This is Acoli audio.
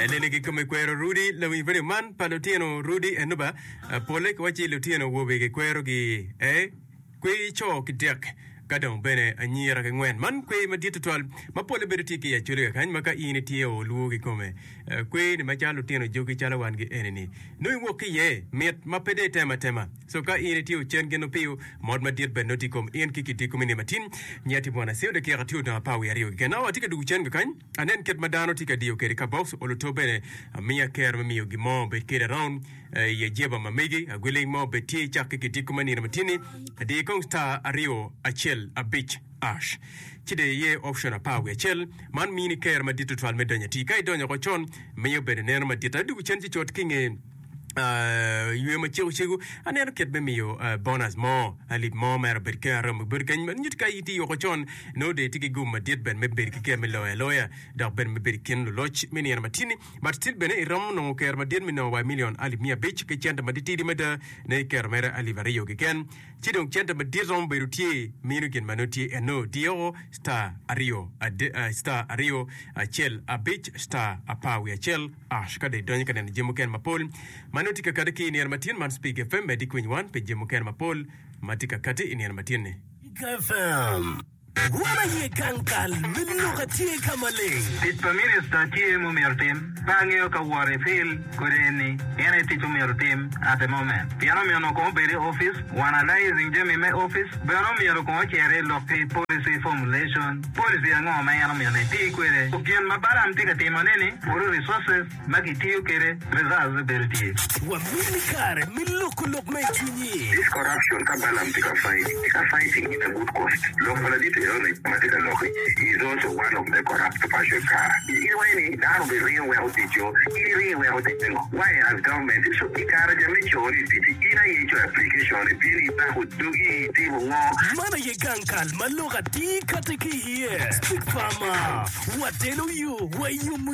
Lene kikome kwero Rudi lawiny radio man pa lutino Rudi eno ba pole kiwacci lutino awobe gikwero gi e kwer co ki dek ka dong bene anyira ki ngwen man kwer madit tutwal ma pole bedo tye ki i Acholi kakany ma ka in itye o lwo kikome kwer ni macalo lutino jogi calo wan gi eni ni nongo iwok ki iye mit ma pe dong itemo atema so ka in itye ocen gin opiyo mot madit bene nongo tye i kom in ki kiti komi ni matin nyati bwana Seo dakika tye odong apar wiye aryo keken awa atye ka dugu cen kakany. Anen kit ma dano tye ka diyo kwede ka box oluto bene amiya kero me miyo gin mo obed kede around i ajeba ma megi agwiling mo obed tye cakke ki diko me nino matini adi kong star aryo acel abic ash ci de iye option apar wiye acel man mini kero madit tutwal me donyo atir ka idonyo oko con miyo bene neno madit adwogo cen ci cut ki nge Ywe macego cego aneno kit me miyo bonus mo alip mo mere obed ki aromo bedo kany ma nyuto ka itye woko con nongo dong itye ki gum madit bene me bedo ki ker me loyo aloya dok bene me bedo i kin luloc me nino matini but still bene iromo nongo ker madit me nongo wa million alip miya abic ki cente matitidi mada ne iketo mere alip aryo keken Ci dong cente madit romo bedo tye mino gin ma nongo tye eno diyo star aryo star aryo acel abic star apar wiye acel ash ka dong idonyo ka neno jami mukene mapol ma nongo tye ka kati ki i nino matin man Speke FM medi ki winy wan pi jami mukene mapol ma tye ka kati i nino matin ni. Speke FM. Wan aye gang kal me lok atye ka maleng. Tic pa minista tye ma omyero otim. Pe angeyo ka wot i field kodi eni en aye tic ma omyero otim at the moment. Pien omyero onongo kong obed i office, analyzing jami me office, bene omyero kong ocer i lok ki policy formulation, policy ango ma en omyero ni eti kwede. Gin ma Balaam tye ka timo ne ni, puro resources ma kitiyo kwede, results bedo tye. Wamini kare me loko lok ma i cwinyi. This corruption ka Balaam tye ka fight, tye ka fighting in a good cause. Lok pa ladit enoni ma tye ka lok-ki, he is also one of the corrupt person ka in iwaco ni dano obi ringo weko tic-co, in iringo iweko tic pingo? Why as government so i kare ca me coni i tic-ci in aye icoyo application ibino ibako dogi itimo ngo? Man aye gang kal ma lok atir kati ki iye. Big Pharma, watelo yo wa i yomo.